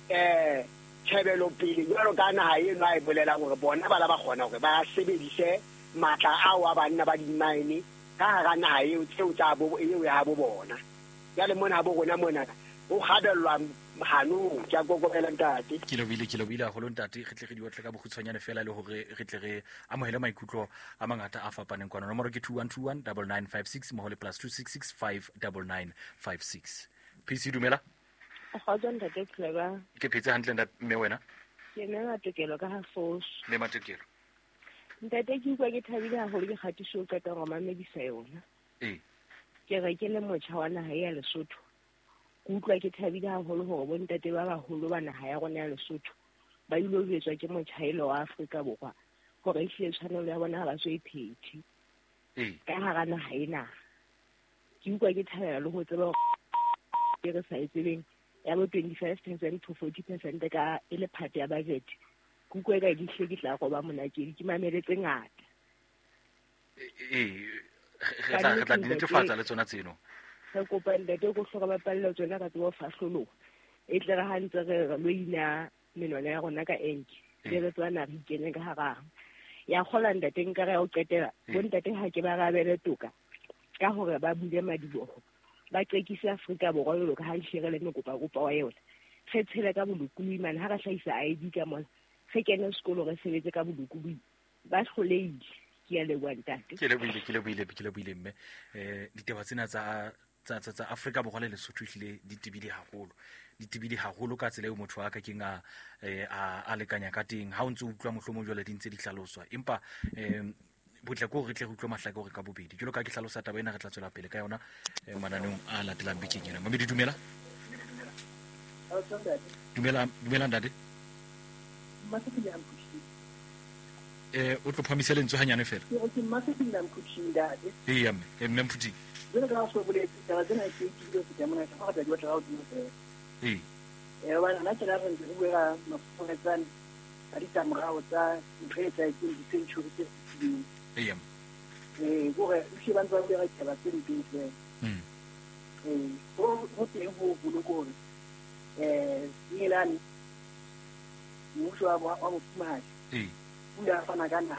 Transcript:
Tjhebelopele jwalo ka naha eno a e bolelang hore bona ba la ba kgona hore ba sebedise matla ao a banna ba di-mine ka hara naha eo tseo tsa bo eo ya habo bona. Jwale mona habo rona mona ho kgabellwa hanong. Ke a kokobela, ntate. Ke lebohile, ke lebohile haholo, ntate. Re tle re di otle ka bokgutshwanyane fela le hore re tle re amohele maikutlo a mangata a fapaneng kwano. Nomoro ke 2121 9956 mmoho le +266 59956. PC, dumela. Kgotso, ntate Clever. Ke phetse hantle, ntate, mme wena? Ke mme Matokelo ka ha Foso. Mme Matokelo. Ntate, ke utlwa ke thabile haholo ke kgatiso o qetang ho mamedisa yona. Ke re ke le motjha wa naha ya Lesotho. Ke utlwa ke thabile haholo hore bontate ba baholo ba naha ya rona ya Lesotho ba ile ho jwetswa ke motjhaelo wa Afrika Borwa hore ehlile tshwanelo ya bona ha ba so e phethe ka hara naha ena. Ke utlwa ke thabela le ho tseba hore e re sa e tsebeng ya bo 25% to 40% ka e le part ya budget. Ke utlwa eka di hle ke tla roba monakedi, ke mamele tse ngata. Ee, re tla di netefatsa le tsona tseno. Re kopa, ntate, ko hloka bapalle tsona ka tseba ho fahloloha, e tle re ha ntse re lo ina menwana ya rona ka enke, be re tseba na re ikene ka harang ya kgola. Ntate, nka re ya ho qetela, bontate ha ke ba rabele toka ka hore ba bule madiboho, ba qekise Afrika Borwa jwalo ka ha ehlile re le mekopakopa wa yona, re tshele ka bolokolohi mane ha re hlahisa ID ka mona, re kene sekolo, re sebetse ka bolokolohi. Ba hlolehile. Ke a leboha, ntate. Ke lebohile, ke lebohile, ke lebohile, mme. Ditaba tsena tsa Afrika Borwa le Lesotho ehlile di tebile haholo, di tebile haholo ka tsela eo motho a ka keng a lekanya ka teng ha o ntse o utlwa mohlomong jwale di ntse di hlaloswa, empa botle ko re tle re utlwe mahlake hore ka bobedi jwalo ka ke hlalosa taba ena. Re tla tswela pele ka yona mananeong a latelang bekeng ena. Mamedi, dumela. Dumela, dumela, ntate. O tlo phamise lentswe hanyane fela. Eya, mme Mphuthing. Jwale ka so boletse, taba tsena ke ebile ho feta mona, ke re di batla ka hodimo fela. Hobane hona tjena re ntse re bua ka mafufuetsane ka ditlamorao tsa ntho e etsahetseng di-century tse fetileng. Kore ehlile ba ntse ba bua ka ditaba tse mpe fela. Ho teng ho hoholo ke hore Engelane, mmuso wa mofumahadi, o ile a fana ka naha.